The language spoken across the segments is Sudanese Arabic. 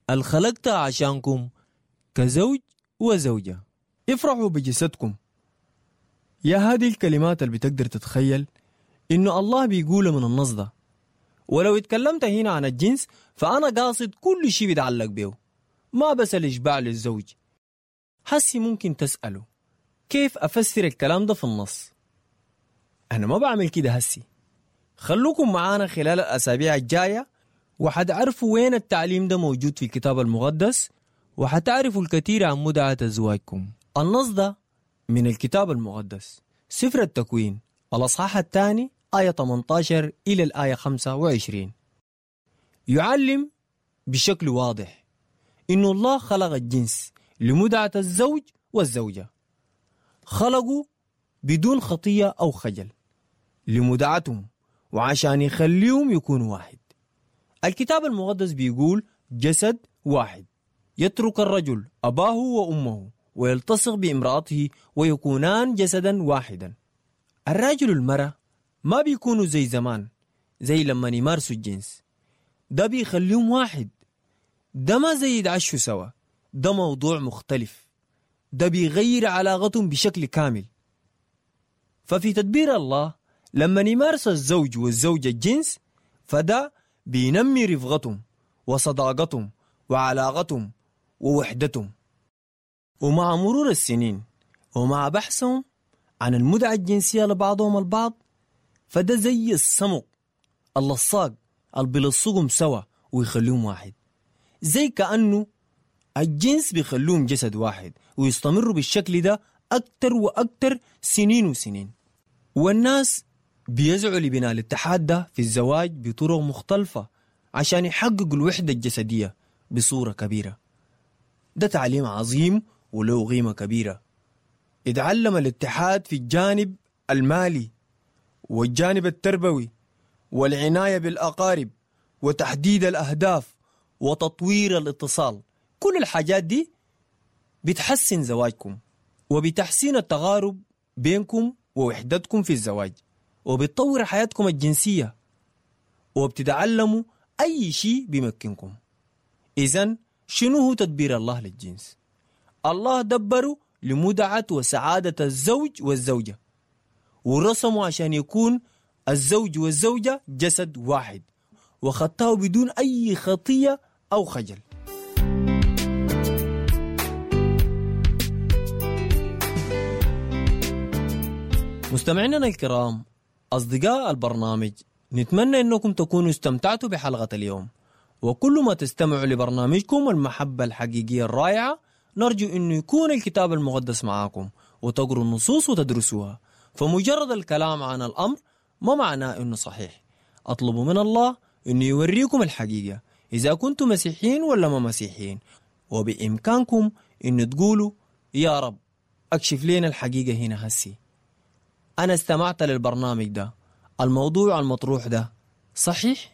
الخلقتها عشانكم كزوج وزوجة. افرحوا بجسدكم. يا هذه الكلمات اللي بتقدر تتخيل إنه الله بيقولها من النص ده. ولو اتكلمت هنا عن الجنس فأنا قاصد كل شيء بيتعلق به، ما بس الإشباع للزوج. حسي ممكن تسأله كيف أفسر الكلام ده في النص؟ أنا ما بعمل كده هسي. خلوكم معانا خلال الأسابيع الجاية وحتعرفوا وين التعليم ده موجود في الكتاب المقدس، وحتعرفوا الكثير عن متعة أزواجكم. النص ده من الكتاب المقدس، سفر التكوين الأصحاح 2 آية 18 إلى الآية 25. يعلم بشكل واضح إنه الله خلق الجنس لمتعة الزوج والزوجة، خلقوا بدون خطية أو خجل لمتعتهم وعشان يخليهم يكونوا واحد. الكتاب المقدس بيقول جسد واحد، يترك الرجل أباه وأمه ويلتصق بامرأته ويكونان جسدا واحدا. الراجل والمرأة ما بيكونوا زي زمان، زي لما يمارسوا الجنس، ده بيخليهم واحد. ده ما زي يتعشوا سوا، ده موضوع مختلف، ده بيغير علاقتهم بشكل كامل. ففي تدبير الله لما يمارس الزوج والزوجة الجنس فده بينمي رفقتهم وصداقتهم وعلاقتهم ووحدتهم. ومع مرور السنين ومع بحثهم عن المتعة الجنسية لبعضهم البعض، فده زي الصمغ اللصاق اللي بيلصقهم سوا ويخليهم واحد، زي كأنه الجنس بيخلوهم جسد واحد ويستمروا بالشكل ده أكتر وأكتر سنين وسنين. والناس بيسعوا لبناء الاتحاد ده في الزواج بطرق مختلفة عشان يحققوا الوحدة الجسدية بصورة كبيرة. ده تعليم عظيم وله قيمة كبيرة. اتعلم الاتحاد في الجانب المالي والجانب التربوي والعناية بالأقارب وتحديد الأهداف وتطوير الاتصال. كل الحاجات دي بتحسن زواجكم وبتحسين التقارب بينكم ووحدتكم في الزواج، وبتطور حياتكم الجنسية، وبتتعلموا أي شيء بيمكنكم. إذن شنو هو تدبير الله للجنس؟ الله دبره لمتعة وسعادة الزوج والزوجة، ورسمه عشان يكون الزوج والزوجة جسد واحد، وخطاه بدون أي خطية أو خجل. مستمعينا الكرام، أصدقاء البرنامج، نتمنى أنكم تكونوا استمتعتوا بحلقة اليوم. وكل ما تستمعوا لبرنامجكم المحبة الحقيقية الرائعة، نرجو أنه يكون الكتاب المقدس معاكم وتقروا النصوص وتدرسوها. فمجرد الكلام عن الأمر ما معناه أنه صحيح. أطلبوا من الله أنه يوريكم الحقيقة إذا كنتم مسيحيين ولا ما مسيحيين، وبإمكانكم أن تقولوا يا رب أكشف لنا الحقيقة هنا هسي، أنا استمعت للبرنامج ده، الموضوع المطروح ده صحيح؟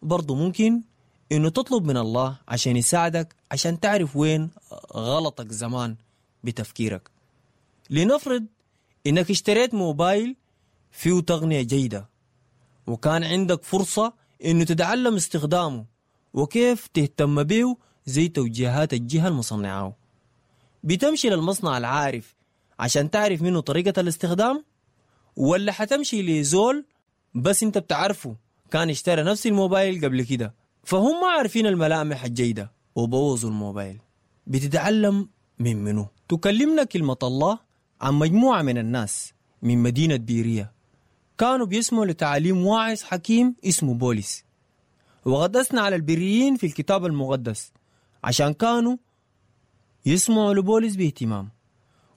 برضو ممكن إنه تطلب من الله عشان يساعدك عشان تعرف وين غلطك زمان بتفكيرك. لنفرض إنك اشتريت موبايل فيه تقنية جيدة، وكان عندك فرصة إنه تتعلم استخدامه وكيف تهتم به زي توجيهات الجهة المصنعة. بتمشي للمصنع العارف عشان تعرف منه طريقة الاستخدام، ولا حتمشي لزول بس انت بتعرفه كان اشترى نفس الموبايل قبل كده فهم ما عارفين الملامح الجيدة وبوظوا الموبايل؟ بتتعلم من منه. تكلمنا كلمة الله عن مجموعة من الناس من مدينة بيريا كانوا بيسمعوا لتعاليم واعظ حكيم اسمه بولس، وقد أثنى على البريين في الكتاب المقدس عشان كانوا يسمعوا لبولس باهتمام،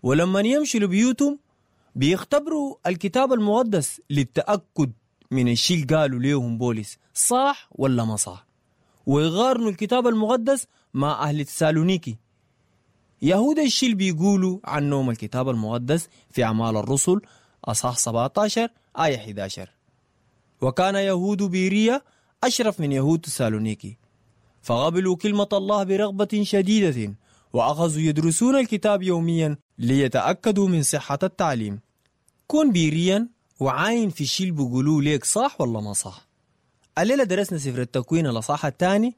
ولما يمشوا لبيوتهم بيختبروا الكتاب المقدس للتأكد من الشيء اللي قالوا ليهم بولس صح ولا ما صح، ويقارنوا الكتاب المقدس مع أهل تسالونيكي. يهود الشيء اللي بيقولوا عنهم الكتاب المقدس في أعمال الرسل أصحاح 17 آية 11: وكان يهود بيريا أشرف من يهود تسالونيكي، فقبلوا كلمة الله برغبة شديدة وأخذوا يدرسون الكتاب يوميا ليتأكدوا من صحة التعليم. كن بيريا وعاين في الشيء اللي بيقولوه ليك صح ولا ما صح. الليلة درسنا سفر التكوين الأصحاح الثاني